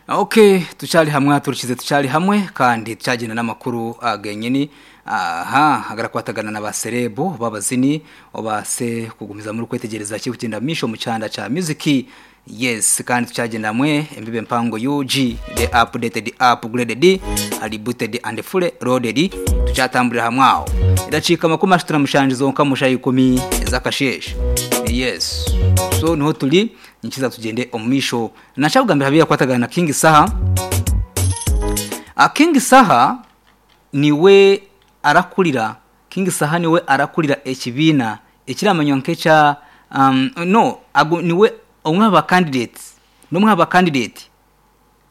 Ok tukyari hamwe turikize tukyari hamwe kandi tukyagenda n'amakuru agenyini aha agarakwatagana na ba serebu babazini obase kugumiza muri kwetegereza ki kugenda misho mu cyanda cha music. Yes, kandi tukyagenda hamwe embibe mpango UG the updated, upgraded, rebooted and fully loaded. Tukyatambulira hamwe aho idacika 37 zonka musha 10 ezakasheshe. Yes, so niho turi nikiza tugende omumisho nacabugambira habiya kwatagana na King Saha. A King Saha niwe arakurira, King Saha niwe arakurira ekibiina ekiramanywa nkecha no agu, niwe omwe aba candidates nomwe aba candidate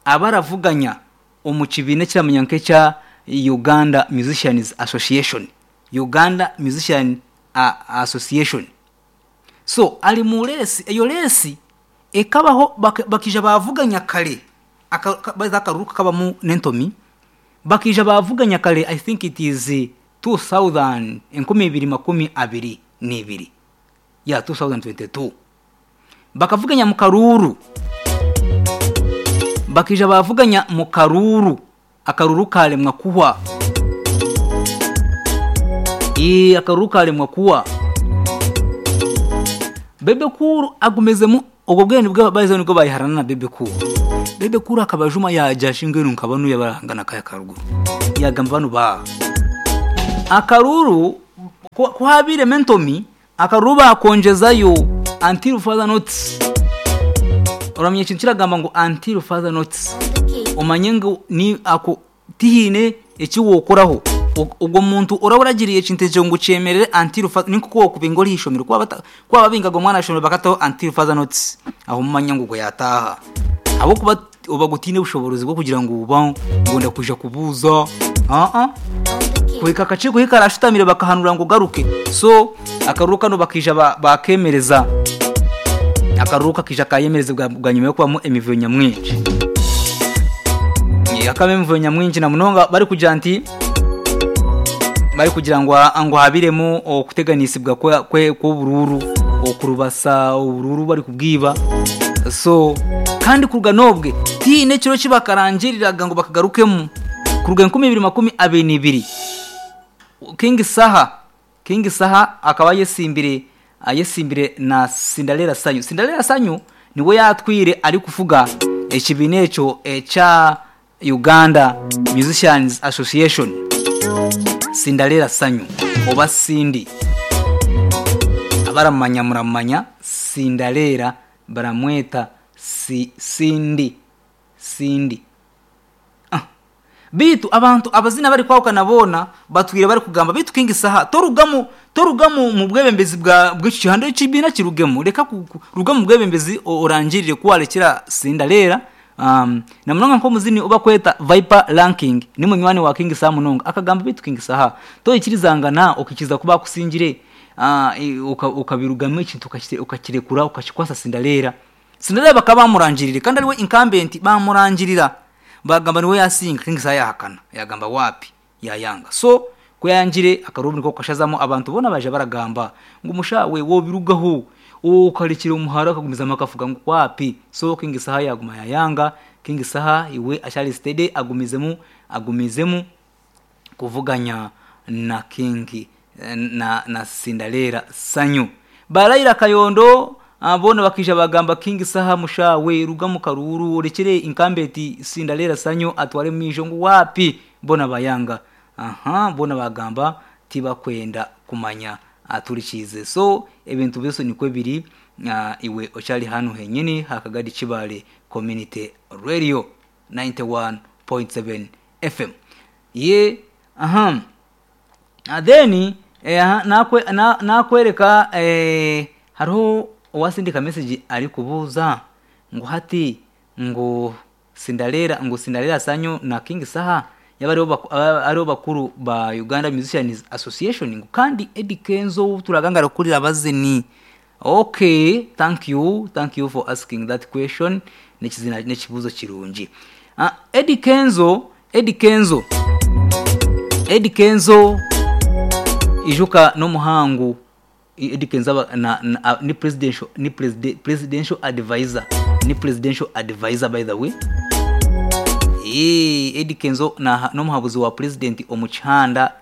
abaravuganya omu kibiina ekiramanywa nkecha Uganda Musicians Association, Uganda Musician Association. So ali mu resi, eyo resi ekabaho bakija bavuganya kare akaruka kabamu nentomi bakija bavuganya kare. I think it is 2000 2022 ya 2022 bakavuganya mu karuru, bakija bavuganya mu karuru, akaruru kalemwa kuwa akaruru kalemwa kuwa Bebe Cool agumezemu ubwo bwene bwa bayize nibwo bayiharana na Bebe Cool. Bebe Cool akabajuma yaja shingwe nkabanu yabarangana kaya karuguru yagamba bano ba akaruru kuhabire mentomi akaruru bakonjezayo until further notice. Uramye ikintu kiragamba ngo until further notice, umanye ngo ni ako tihine ekiwokoraho ubwo muntu uraburagiriye ikintu ngo cyemerere until further, niko ko kubingo rishomero kwa kwa babingaga umwana ashomero bakataho until further notice, aho mumanya ngo yataha abo kuba ubagutine ubushobozi bwo kugira ngo uba ngo kuja kubuza kuhika akaciko hikarashitamire bakahanura ngo garuke. So akaruka no bakija bakemereza akaruka kija kayemereza bwa nyuma yo kubamo emivuyo nyamwinshi akaba emivuyo nyamwinshi na munonga bari kugira nti bari kugira ngo ngo habiremo okuteganisibwa kwe kubururu okurubasa ubururu bari kubwiba. So kandi kuruga nobwe tine kiro kibakarangiriraga ngo bakagarukemo kuruga 2022 King Saha, King Saha akaba yesimbire ayesimbire na Cinderella Sanyu. Cinderella Sanyu niwe yatwire ari kufuga ekibiina ekyo echa Uganda Musicians Association. Cinderella Sanyu oba Cindy abaramanya muramanya Cinderella baramweta si Cindy Cindy. Bitu abantu abazina bari kwawukana bona batwire bari kugamba bitu King Saha torugamu torugamu mu bwebembezi bwa bw'iki gihando cy'ibina kirugemo reka rugamu bwebembezi orangirire kuwarekera Cinderella. Na munonga nko muzini uba kweta Viper Ranking ni munywani wa King Saha munonga akagamba bitu King Saha to ikirizangana okikiza kuba kusingire ukabirugamo ikintu ukakirekura ukakikwasa Cinderella. Cinderella bakaba bamurangirire kandi ariwe incumbent bamurangirira bagamba niwe yasinga. King Saha yahakana yagamba wapi yayanga. So kuyangire akarubuni ko kashazamo abantu bona baje baragamba ngo umushawe wo birugaho ukarekera umuhara akagumiza makafuga ngo wapi. So King Saha yaguma yayanga. King Saha iwe ashari steady agumizemu agumizemu kuvuganya na King na Cinderella Sanyu. Barayira Kayondo abona bakija bagamba King Saha mushawe rugamu karuru urekere inkambeti Cinderella Sanyu atware mijo ngo wapi bona bayanga. Aha bona bagamba tibakwenda kumanya aturikize. So ebintu byose niko biri iwe ochali hano henyini hakagadi Kibale Community Radio 91.7 FM. Ye aha then nakwe nakwereka hariho uwasindika message ari kubuza ngo hati ngo Cinderella ngo Cinderella Sanyu na King Saha yabariho bakuru ba Uganda Musicians Association ngo kandi Eddy Kenzo turagangara kurira abazini. Okay, thank you, thank you for asking that question. Nekizina nekibuzo kirungi. Eddy Kenzo, Eddy Kenzo, Eddy Kenzo ijuka no muhangu Eddy Kenzo na ni presidential ni presidential advisor, ni presidential advisor by the way. Eeh Eddy Kenzo n'omuhabuzi wa purezidenti omu kihanda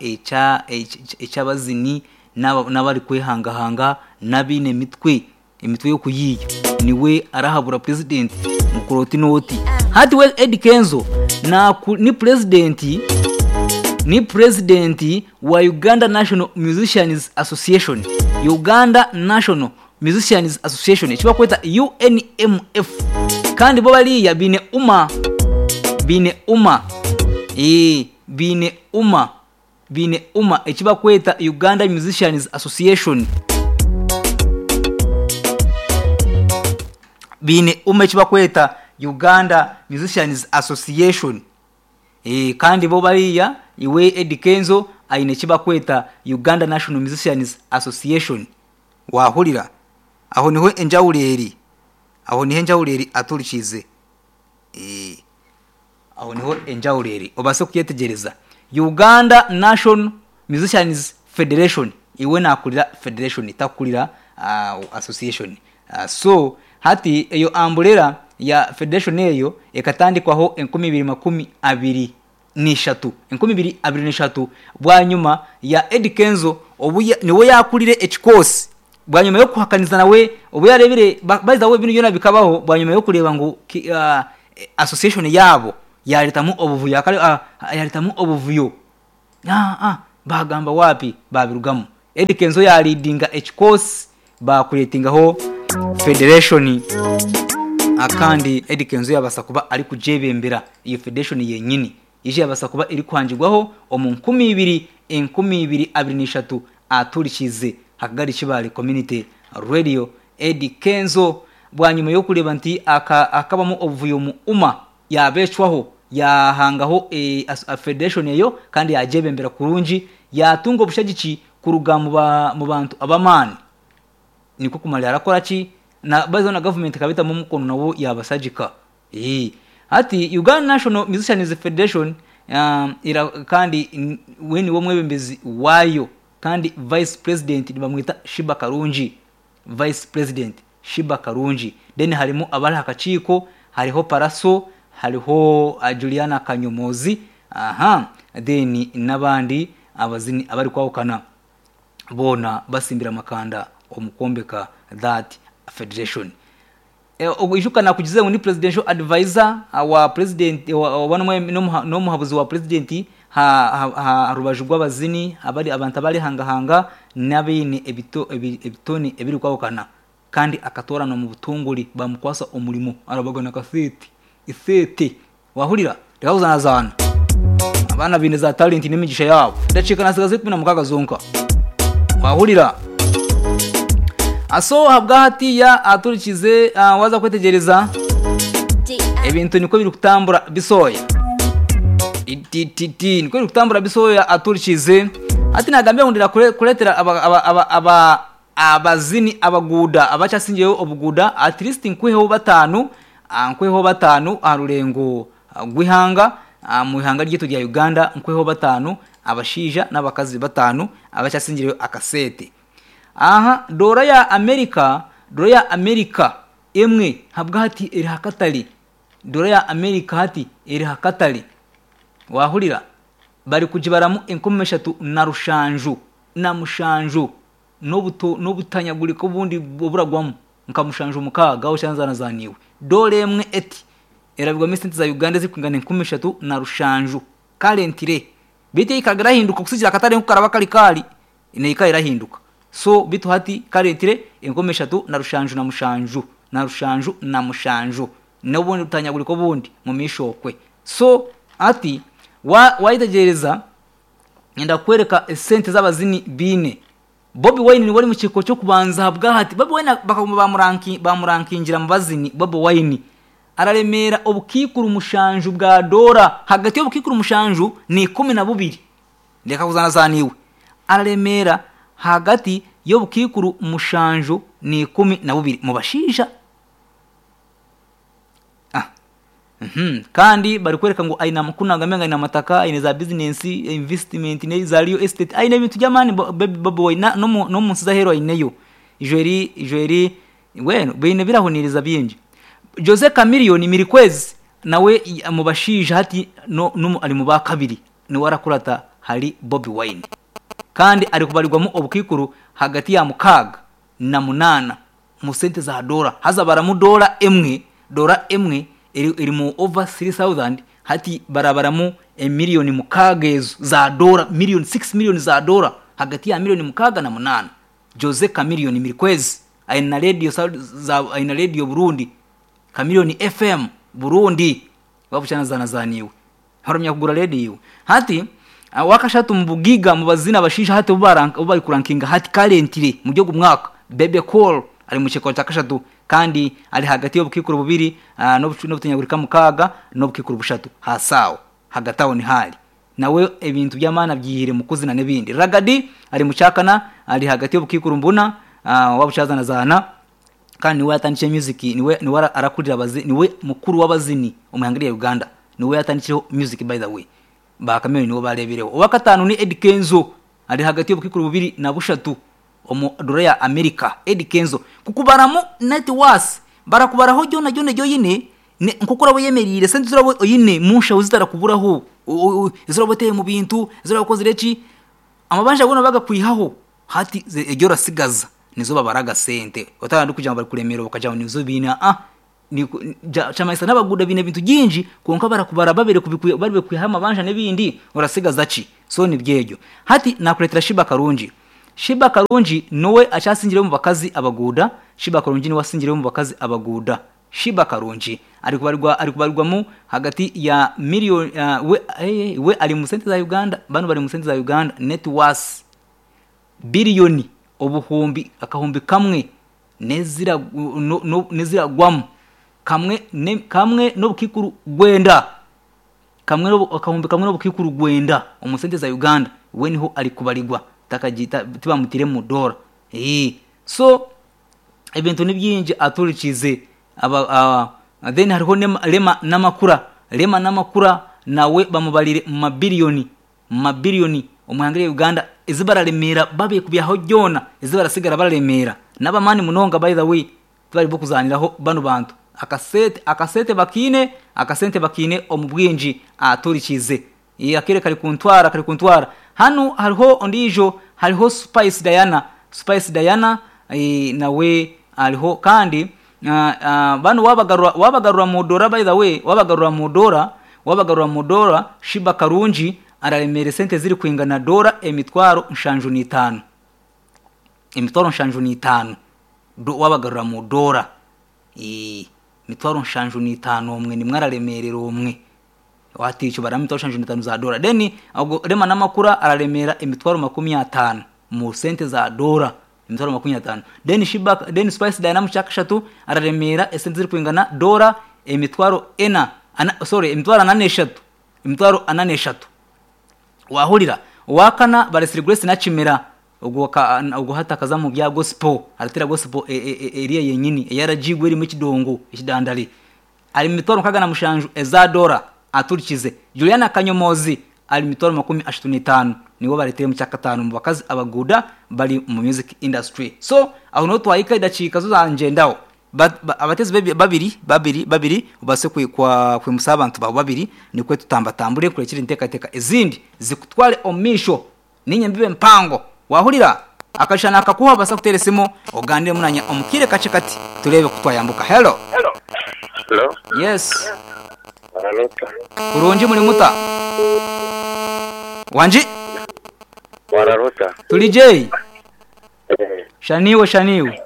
eky'abazini n'abarikwehangahanga n'abaine emitwe, emitwe y'okuyiiya. Niwe arahabura purezidenti ngu kora oti n'oti. Hati we Eddy Kenzo ni purezidenti ni purezidenti wa Uganda National Musicians Association, Uganda National Musicians Association eki barikweta UNMF kandi bo bariya baine UMA baine UMA eeh baine UMA baine UMA eki barikweta Uganda Musicians Association baine UMA eki barikweta Uganda Musicians Association. Kandi bo bariya iwe Eddy Kenzo aine eki barikweta Uganda National Musicians Association. Waahurira? Aho niho enjawulo eri. Aho niho enjawulo eri aturikiize. Eeh. Aho niho enjawulo eri. Obaase kukyetegyereza. Uganda National Musicians Federation, iwe naakurira federation takukurira association. So, hati eyo amburera ya federation eyo ekatandikwaho 2023. 2023 bwanyima ya Eddy Kenzo obu niwe yaakurire ekikoosi bwanyima y'okuhakaniza nawe obu yaareebire by the way binu byona bikabaho bwanyima y'okureeba ngu association yaabo yaareetamu obuvuyo yaareetamu obuvuyo baagamba waapi baabirugamu. Eddy Kenzo yaaliidinga ekikoosi baakureetingaho federation kandi Eddy Kenzo yaabaasa kuba arikugyebembera eyo federation yenyini. Yaija yaabaasa kuba erikuhangirwaho omu 2023 aturikiize Hakagari Kibaale Community Radio Eddy Kenzo bwanyima y'okureeba nti hakabamu obuvuyo omu UMA yaabeecwaho yaahangaho federation eyo kandi yaagyebembera kurungi yaatunga obushagiki kuruga mu bantu ab'amaani nikwo kumarira arakora ki na by the way na gavumenti ekaba etamu omukono nabo yabasagika eeh hati Uganda National Musicians Federation kandi we niwe omwebembezi waayo kandi vice president nibamweta Sheebah Karungi vice president Sheebah Karungi then harimu abari aha kakiiko hariho Pallaso hariho Juliana Kanyomozi aha then n'abandi abazini abarikwahukana boona basimbire amakanda omu kwombeka that federation. Ijuka nakugize ngu ni presidential advisor wa president oba n'omuhabuzi wa president aha rubaju rw'abazini abari abantu abarihangahanga n'abaine ebitone ebirikwahukana kandi akatooranwa omu butongore bamukwasa omurimo arabagana akasente esente Wahurira? Reka kuzaanazaana. Abaana baine za talenti n'emigisha yaabo. Edakiika naatsigaza 16 zonka. Wahurira? So ahabwa hatiiya aturikize waaza kwetegyereza ebintu nikwo birikutambura bisooya. Itititi nikwo birikutambura bisooya aturikize. Hati naagambire ngu ndenda kureetera aba aba aba aba Abazini abaguuda abakyasingyeyo obuguuda at least nkwiheho bataanu nkwiheho bataanu aha rurengo rw'eihanga omu ihanga ryaitu rya Uganda nkwiheho bataanu abashaija n'abakazi bataanu abakyasingyireyo akaseete. Aha doora ya America doora ya America emwe habwahati eri aha katare doora ya America hati eri aha katare waahurira barikugibaramu 3700 n'obutanyagurika obundi oburagwamu nka mushanju mukaaga oshanzanazaniibwe. Doora emwe eti erabirwamu esente za Uganda ezirikwingana 3700 currently. Beitu eikaraga erahinduka kusigiikirira akatare nku karaba kari kaari neikara erahinduka. So beitu hati currently 3707 na rushanju na mushanju n'obundi butanyagurika obundi omumaisho okwe. So hati wayetegyereza Nyenda kukworeka esente ezi abazini baine. Bobi Wine niwe ori mu kiiko ky'okubanza ahabwahati. Bobi Wine bakaguma bamurankingira mu bazini. Bobi Wine araremeera obukaikuru mushanju bwa doora. Hagati y'obukaikuru mushanju na 12. Reka kuzaanazaana iwe. Araremeera hagati y'obukaikuru mushanju na 12 mu bashaija. Kandi barikworeka ngu aine ku nagambire ngu aine amataka, aine za bizinensi, invisitimenti za riyo esiteti, aine ebintu by'amaani Bobi Wine n'omu nsi z'aheeru aineyo. Ijo eri mbwenu baine ebirahuniiriza bingi. Jose Chameleone Mirikwezi. nawe mu bashaija hati no, no, ari mu bakabiri niwe arakurata hari Bobi Wine kandi ari kubarirwamu obukaikuru hagati ya 68 mu sente za doora haza baramu doora emwe doora emwe eri, eri mu over 3000 hati barabaramu emiliyoni mukaaga ezo za doora miliyoni 6 miliyoni za doora hagati ya miliyoni 6 na 8 Jose Chameleone Mirikwezi aine na radio za aine radio Burundi Chameleone FM Burundi wabucyanazanazaniwe haramya kugura radio hati wakashatu mu bugiga mu bazina bashisha hati ubaranka bari kurankinga hati currently mu gihugu mwaka Bebe Cool ari mu cyekoro cya kashatu kandi ari hagati y'ubukikuru bubiri uh, n'obutunyagurika mukaga n'obukikuru bushatu hasawo hagati aho ni hari nawe ebintu by'amana byihire mu kuzina n'ibindi ragadi ari mu cyakana ari hagati y'ubukikuru mbuna uh, wabucazana zana kandi niwe yatandikije music niwe niwe arakurira abazi niwe mukuru w'abazini umuhangiriye Uganda niwe yatandikijeho music by the way ba Chameleone niwe barebereho uwa gatanu ni Eddy Kenzo ari hagati y'ubukikuru bubiri na bushatu omu dora ya America Eddy Kenzo kukubaramu net worth barakubaraho jona jona joyine nkuko urabo yemerire sente zurabo oyine musha uzitara kuburaho zurabo teye mu bintu zurabo kozire ki amabanja gona bagakwihaho hati ejyo rasigaza nizo babaraga sente otandi kugira ngo bari kuremera bakaja nizo bina ah ni chamaisa n'abaguda bine bintu byinji konka barakubara babere kubikuye bari kwiha amabanja n'ibindi urasigaza ki so ni byejo hati nakuretera Shiba Karungi Shiba Karungi nowe achasingire mu bakazi abaguda Shiba Karungi niwe wasingire mu bakazi abaguda Shiba Karungi ari kubarirwa ari kubarirwamo hagati ya miliyoni uh, we, hey, we ari mu sente za Uganda bano bari mu sente za Uganda net worth biliyoni obuhumbi akahumbi kamwe nezira no, no, nezira gwam kamwe ne, kamwe n'obukikuru gwenda kamwe no akahumbi kamwe n'obukikuru gwenda omu sente za Uganda we niho ari kubarirwa takagita tibamutire mu dola eh so ebintu ni byinji aturikize aba uh, then hariho lema namakura lema namakura nawe bamubalire mu mabiliyoni mabiliyoni omuhangire Uganda ezibararemera babe kubyaho jona ezibarasigara bararemera n'abamani munonga by the way tubari bokuzaniraho bano bantu akasete akasete bakine akasente bakine omubwinji aturikize akere kari kuntwara kari kuntwara hano hariho ondijo hariho Spice Diana Spice Diana e, nawe hariho kandi uh, uh, bano wabagarura wabagarura mu dora by the way wabagarura mu dora wabagarura mu dora Shiba Karungi araremera sente ziri kwingana dora emitwaro 75 emitwaro 75 wabagarura mu dora e mitwaro 75 umwe nimwe araremerera umwe waticho bara mitwaro 75 za dora then ubwo rema namakura araremera emitwaro 50 mu sente za dora emitwaro 50 then Shiba then Spice Diana cyakashatu araremera esente ziri kwingana dora emitwaro ena ana, sorry emitwaro 43 emitwaro 43 wahurira wakana baresiri Grace na Chimera ubwo ubwo hatakaza mu bya gospel aratera gospel eriya yenyini yarajigwe iri mu kidongo ikidandari ari mitwaro kagana mushanju ezadora aturikize Juliana Kanyomozi ari mitwaro 35 niwo bareteye mu cyakatanu mu bakazi abaguda bari mu music industry so aho no twayika idacika zo zanjendaho abatezi babiri babiri babiri ubase kwa kwimusa abantu babo babiri nikwe tutambatambure kurekera intekateka izindi zikutware omisho ninye mbibe mpango wahurira akashana akakuha basa kuteresemo ogandire munanya omukire kace kati turebe kutwayambuka hello hello hello yes kurungi muri muta wanji wararota tuli J shaniwe shaniwe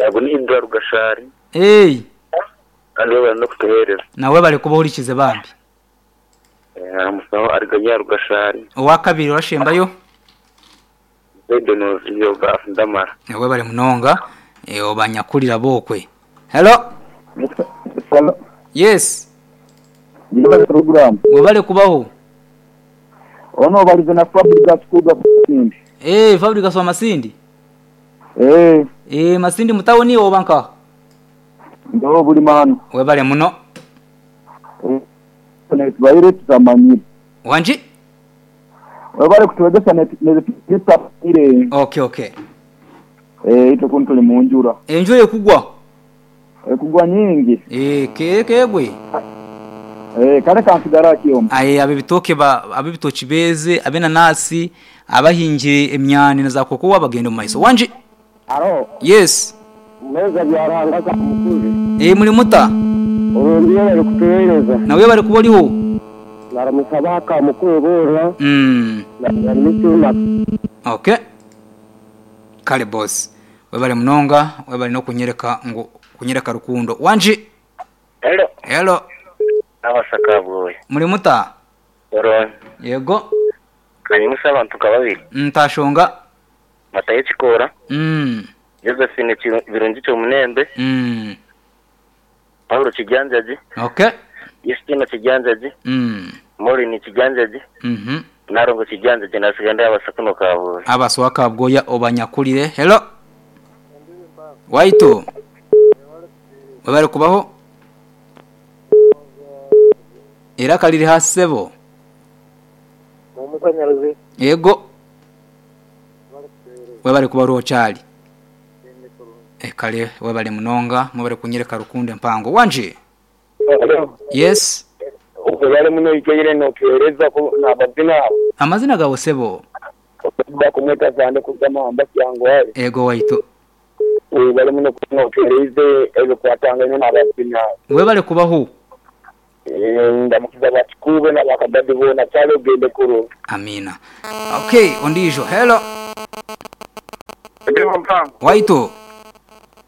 yego ni Ibra Rugashari eh kandi bari no kutuhereza nawe bari kubahurikize bambi eh amusaho ariganya Rugashari uwa kabiri urashembayo Zedono iyo ndamara nawe bari munonga eh obanyakurira bokwe hello yes program webale kubaho ono balize na Fabrica School Masindi eh Fabrica wa Masindi eh eh Masindi mutawuni obanka ndo buli mano webale muno eh tubaire tutamanyire wanji webale kutuwezesha netire okay okay eh ito kuntuli munjura enjura ekugwa ekugwa nyingi eh kekegwe Eh, kale kansigara akiyomba. Aye ab'ebitooke ba ab'ebitooki beeze, ab'enanasi, abahingire emyani na za kokowa bagende omu maiso. Wangi? Alo. Yes. Mweeza bya Ruhanga ka mukuru. Eeh muri muta? Orungi webare kutuhereza. Nawe webare kuba oriho. Naramusa aba ka mukuru boona. Na Mitima. Okay. Kale boss. Webare munonga, webare n'okunyereka ngu kunyereka rukundo. Wangi? Hello. Hello. Nabasa Kabwoya. Muri muta? Orungi. Yego. Kanyimuse abantu nka babiri. Ntashonga. Matayo Kikoora. Josephine Birungi Kyomunembe. Paulo Kigyanjagi. Okay. Justina Kigyanjagi. Maureen Kigyanjagi. Nalongo Kigyanjagi nasiga ndi abasa kuno Kabwoya. Abasa owa Kabwoya obanyakurire. Hello. Waitu. Webare kubaho. Eiraka riri ha sebo. Yego. Webale kuba oriho Charlie. Kale webale munonga mwebale kunyereka rukundo empango. Wangi? Yes. Webale muno ikaire notuhereza ku nabazina abo. Amazina gawe sebo? Bakumweta Sande kuruga Mamba Kyangwali. Ego waitu. Webale muno kuba notuhereize ebikwatangaine nabazina abo. Webale kubaho. Ndamukiza ba Kikuube na ba Kadadi boona. Charlie ogende kurungi. Amiina. Okay, ondiijo. Hello. Emirimo mpango. Waitu.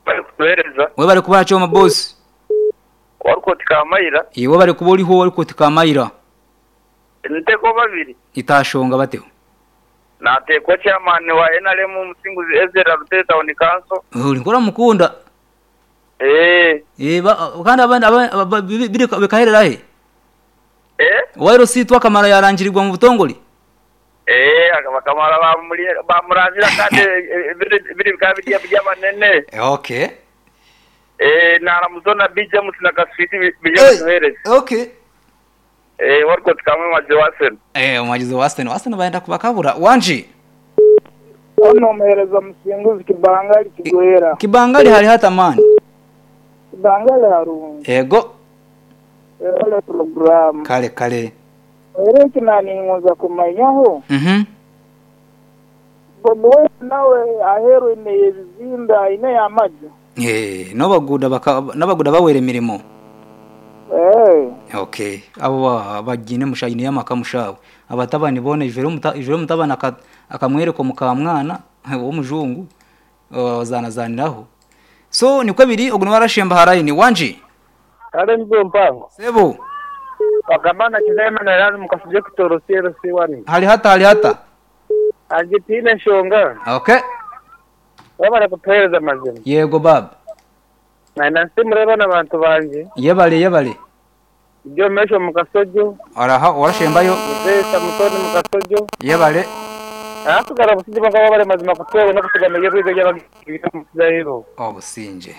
Webale kutuhereza. Webale kuba Kyoma boss. Warikoti Kamaira. Iwe webale kuba oriho Warikoti Kamaira. Niteko babiri. Itashonga bateho. Natekwa chairman wa NRM Musinguzi Ezra Rutare Town Council. Ori nk'oramukunda. Eh. Eh, kandi abandi bikaherera he? Eh? Owa LC Twakamara yarangirirwa mu butongore? Eh, bakamara bamurangira kandi biri bikaba biri eby'abanene. Okay. Eh, naramuzo na B James na Kaswiti bije batuhereze. Okay. Eh, warikoti kamwe maje wa Arsenal. Eh, omuhagizi wa Arsenal. Arsenal bayenda kubakabura. Wangi? Ono omuhereza Musinguzi Kibangali Kigwera. Kibangali hari hata mani? Kibangali harungi. Ego. Webale puroguramu. Kale kale. Era eki naningonza kumanyaho, Bobi Wine nawe aheeru aine ebizimbe aineyo amaju? Eh, n'abaguuda baka n'abaguuda baweire emirimo. Eh. Okay. Abo bagiine musha aineyo amaka musha we. Abatabani boona ijwire omuta ijwire omutabani aka akamwereka omukamwana ow'omujungu ozaanazaaniraho. So nikwo biri ogu niwe arashemba aha layini. Wangi? Kale nibwo mpango. Sebo. Wakaba na Kiza Emmanuel ari omu kasugye Kitooro CLC one. Hari hata hari hata. Hangye tihaine nshonga. Okay. Webare kutuhereza amazima. Yego baaba. Nayenda nsiimure abaana bantu bangye. Yebare yebare. Byomesho omu Kasogyo. Oraha orashembayo. Muzei Samusoni omu Kasogyo. Yebare. Ahasigara obusingye bwonka webare mazima kutuhwera n'okutugamira eby'obwengye eby'abagaiga omu kizahiro. Obusingye.